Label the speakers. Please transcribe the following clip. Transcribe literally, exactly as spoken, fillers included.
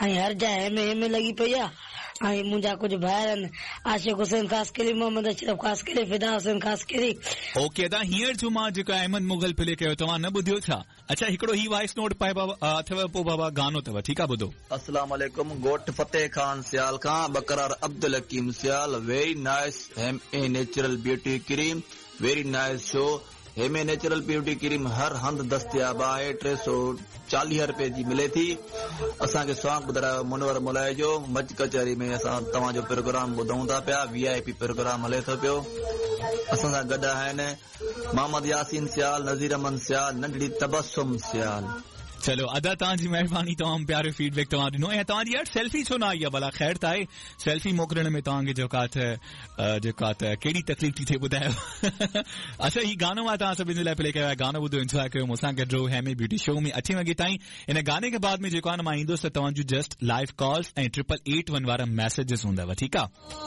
Speaker 1: ऐं हर जाइ हेमे हेमे लॻी पई आहे। ऐं मुंहिंजा कुझु भाइर आहिनि, आशिक हुसैन ख़ासकेली, मोहम्मद अशरफ ख़ासकेली, फिदा हुसैन ख़ासकेली।
Speaker 2: ओके अदा, हींअर जो मां जेको अहमद मुग़ल प्ले कयो, तव्हां न ॿुधियो छा? अच्छा, हिकिड़ो ही वॉइस नोट पाए बाबा अथव, पोइ बाबा गानो अथव, ठीकु आहे, ॿुधो।
Speaker 3: अस्सलाम वालेकुम, ॻोठ फतेह खान सियाल खां बकरार Abdul Hakeem Sial. Very nice Hem a natural beauty cream, very nice show. Hem a natural beauty cream हर हंधि दस्तियाब आहे, टे सौ चालीह रुपए जी मिले थी। असांखे सॉन्ग ॿुधायो मुनवर मुलाई जो। मच कचहरी में असां तव्हांजो प्रोग्राम ॿुधूं था पिया, वी I P programme हले थो पियो। असां सां गॾु आहिनि मोहम्मद यासीन सियाल, नज़ीर अहमद सियाल, नंढड़ी तबसुम सियाल।
Speaker 2: चलो अदा, तव्हांजी महिरबानी, तमामु प्यारो फीडबैक तव्हां ॾिनो। ऐं तव्हांजी यार सेल्फी छो न आई आहे भला? ख़ैर त आहे, सेल्फी मोकिलण में तव्हांखे जेको आहे त जेको आहे त कहिड़ी तकलीफ़ थी थिए, ॿुधायो। अच्छा, हीउ गानो मां तव्हां सभिनी जे लाइ प्ले कयो आहे, गानो ॿुधो, इंजॉय कयो, मूंसां गॾु रहो हेमे ब्यूटी शो में अठे वॻे ताईं। इन गाने खे बाद में जेको आहे न मां ईंदुसि त तव्हांजूं जस्ट लाइव कॉल्स ऐं ट्रिपल एट वन वारा मैसेजेस हूंदव, ठीकु आहे।